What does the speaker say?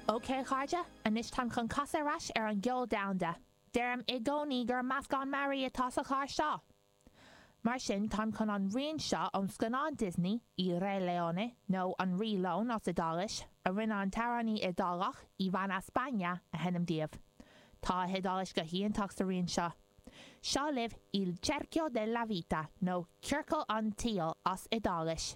Ok a chairde, anois táim chun casadh ar ais ar an gceol domhanda. Deirim i gcónaí gur meascán mearaí atá sa chlár seo! Mar sin, táim chun an rian seo ón scannán Disney, Il Re Leone, nó An Rí Leon as Iodáilis, a rinne an t-amhránaí Iodálach, Ivana Spagna, a sheinm daoibh. Tá a hIodáilis go hiontach sa rian seo. Seo libh Il Cerchio della Vita, nó Ciorcal an tSaoil as Iodáilis.